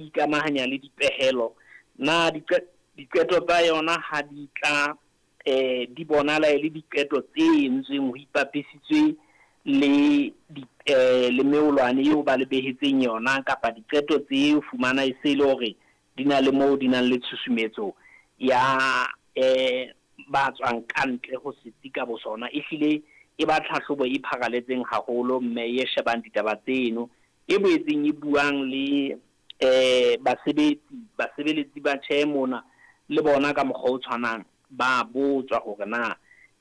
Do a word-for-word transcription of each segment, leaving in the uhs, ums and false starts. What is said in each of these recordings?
Ikamahanya le dipehelo na diqeto tsa yona ha di tla eh di bonala e le diqeto tse entsweng ho ipapisitswe le di eh le meolwane eo ba le behetseng yona, kapa diqeto tse fumana e se le hore di na le moo di nang le tshusumetso ya eh ba tswang ka ntle ho setsi ka bosona. Ehlile e ba tlhahlobo e pharaletseng haholo, mme e shebang ditaba tseno, e boetseng e buang le eh basebetsi basebeletsi ba tjhe mona le bona ka mokgwa o tshwanang ba botswa hore na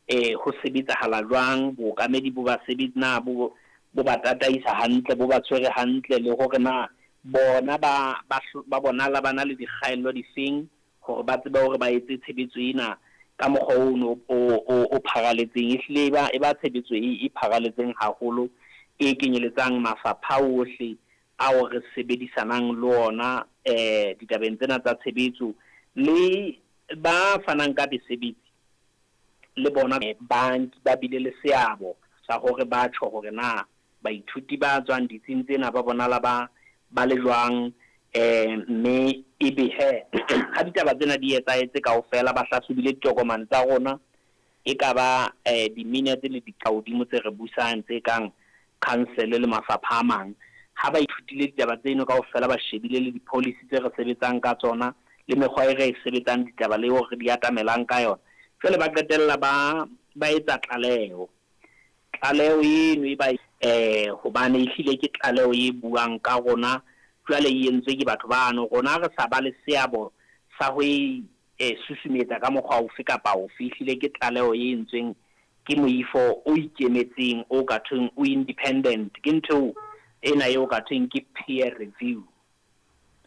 eh ho sebetsahala jwang, bookamedi bo basebetsi na bo bo ba tataisa hantle, bo ba tshwere hantle, le hore na bona ba ba bonala ba na le dikgaello difeng hore ba tsebe hore ba etse tshebetso ena ka mokgwa ono o o pharaletseng. Ehlile e ba e ba tshebetso e e pharaletseng haholo, e kenyeletsang mafapha ohle ao re sebedisanang le ona eh ditabeng tsena tsa tshebetso, le ba fanang ka mesebetsi le bona ba ba bile le seabo sa hore ba tjho hore na baithuti ba tswang ditsing tsena ba bonala ba ba le jwang, eh mme ebe he ha ditaba tsena di etsahetse kaofela, ba hlahlobile ditokomane tsa rona, e ka ba eh di-minutes le diqahodimo tse re busang tse kang council le mafapha a mang. Ha ba ithutile ditaba tseno kaofela, ba shebile le di-policy tse re sebetsang ka tsona le mekgwa e re e sebetsang ditaba le hore di atamelang ka yona, jwale ba qetella ba ba etsa tlaleho. Tlaleho eno e ba eh hobane ehlile ke tlaleho e buang ka rona, jwale e entswe ke batho bano, rona re sa ba le seabo sa ho e susumetsa ka mokgwa ofe kapa ofe. Ehlile ke tlaleho e entsweng ke moifo o ikemetseng o ka thweng o independent, ke ntho ena eo ka thweng ke peer review.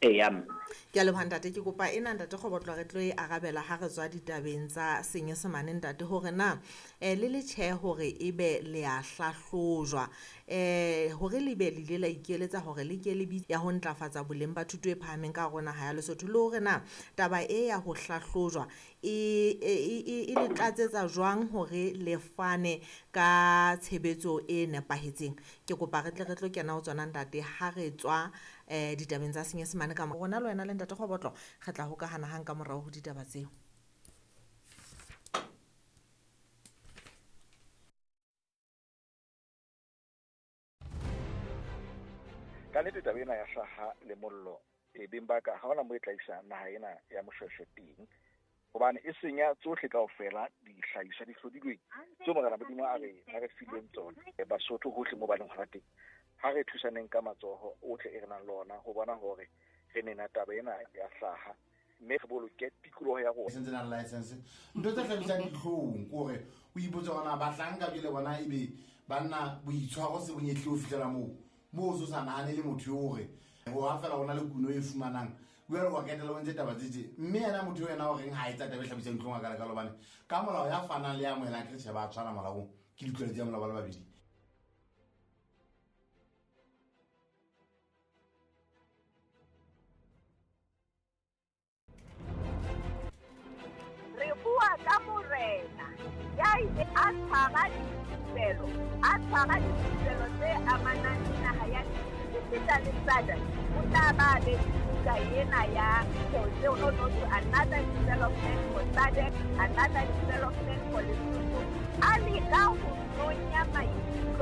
Eya mme Ke a leboha ntate, ke kopa ena ntate Kgobotlo re tlo e arabela ha re tswa ditabeng tsa Senyesemane ntate, hore na eh le le tjhe hore ebe le a hlahlojwa eh hore le be le ile la ikeletsa hore le ke le bitse ya ho ntlafatsa boleng ba thuto e phahameng ka hare ho naha ya Lesotho, le hore na taba e ya ho hlahlojwa e e e le tlatsetsa jwang hore le fane ka tshebetso e nepahetseng. Ke kopa re tle re tlo kena ho tsona ntate ha re tswa eh ditabeng tsa Senyesemane ka rona le wena le ntate Kgobotlo re tla hokahana hang ka morao ho ditaba tseo. Ka nnete taba ena ya hlaha le mollo e beng ba ka ha hona moo e tla isa naha ena ya Moshweshwe teng, hobane e senya tsohle kaofela dihlahiswa di hlodilweng tseo Morena Modimo a re a re fileng tsona. Basotho hohle moo ba leng hona teng, ha re thusaneng ka matsoho ohle e re nang le ona ho bona hore re nena taba ena ya hlaha, mme re boloke tikoloho ya rona. Sentse nang license ntho tse hlabisang dihlong ke hore o ipotse hore na bahlanka jwale bona ebe banna boitshwaro se bonyehle ho fihlela moo moo o so sa nahane le motho eo hore ho ha fela ho na le kuno e fumanang jwale wa ketela o ntse taba tse tje, mme yena motho eo yena o reng ha etsa taba e hlabisang dihlong a kalekale, hobane ka molao ya fanang le ya amohelang ke tjhe ba tshwana molaong, ke ditlwaelo tsa molao ba le babedi. Re bua ka morena ya ile a tshwara dithupelo, a tshwara dithupelo tse amanang le naha ya esita le S A D C, o tla ba be le buka ena ya tseo no no to another development for S A D C, another development for Lesotho. A leka ho nonya maikutlo.